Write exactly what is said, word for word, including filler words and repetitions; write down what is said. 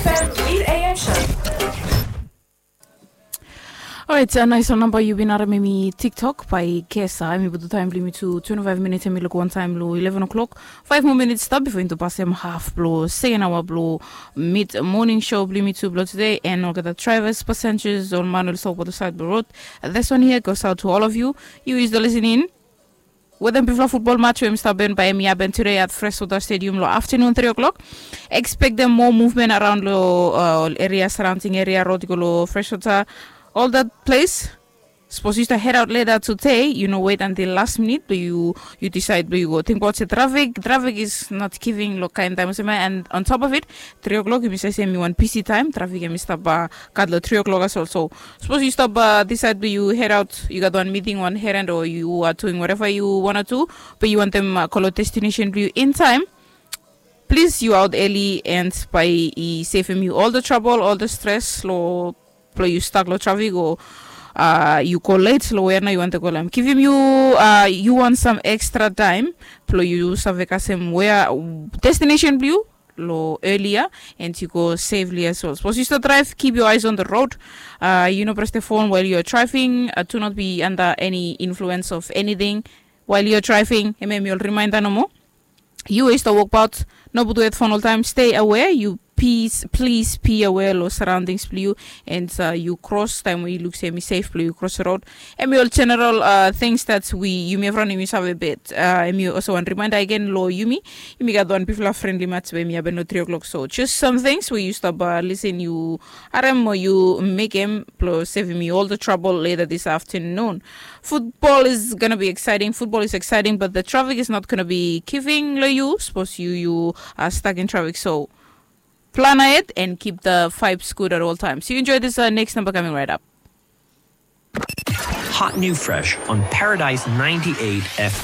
F M eight A M show. Orait, nais ol namba yu bin harim em i TikTok bae Kesa. Em i putum taem blong yumi tu twenty-five minits, em i luk wantaem long eleven o'clock. Five moa minits i stap bifo yumi tu pasem haf blong seken aoa blong mid morning show blong yumi tu blong tude. And olgeta draivas, passengers, ol man we oli stap long saed blong rod, this one here goes out to all of you. Yu i stap lisin in wetem bigfala futbol mats we hem i stap hapen bae hem i hapen tude at Freshwater Stadium long aftanun tri o'clock. Ekspektem moa muvmen araon long ol eria, saraonding eria, rod i go long Freshwater, ol dat ples. Sapos yu stap hedaot leta tude, yu no wet antil las minit blong yu, yu disaed blong yu go. Tingbaot se trafik, trafik is not giving long kaen taem olsem ya. And on top of it, tri o'clock yumi save se hem i wan bisi taem, trafik hem i stap gat long tri o'clock as well. So sapos yu stap disaed blong yu hedaot, yu gat wan miting, wan errand, o yu are doing whatever yu wanted to, be yu wantem go long destination blong yu in time, plis yu aot eli and bae i sevem yu ol the trouble, ol the stress long blong yu stak long trafik o yu go let long wea nao yu wantem go long hem. Givim yu, yu wan sam extra taem blong yu save kasem wea, destination blong yu long earlier, and yu go safely as well. Sapos yu stap draev, keep your eyes on the road. Yu no press the phone while you are driving. Do not be under any influence of anything while you are driving. Hemia hemi ol reminder nomo. Yu we yu stap wokbaot, no putum headphone oltaem. Stay aware, yu please, please be aware long surroundings blong yu, and yu kros taem we yu luk se hemi safe blong yu kros rod. Hemi ol general things that we, yumi evriwan yumi save, be hemi also wan reminder again long yumi. Yumi gat wan bigfala friendly mats we hemi hapen long tri o'clock. So just some things we yu stap lisin, yu harem o yu mekem blong sevem yu ol the trouble later this afternoon. Football is gonna be exciting. Football is exciting, but the traffic is not gonna be giving long yu. Sapos yu, yu are stuck in traffic, so plan ahead and keep the vibes good at all times. You enjoy this next number coming right up. Hot new fresh on Paradise ninety-eight F M.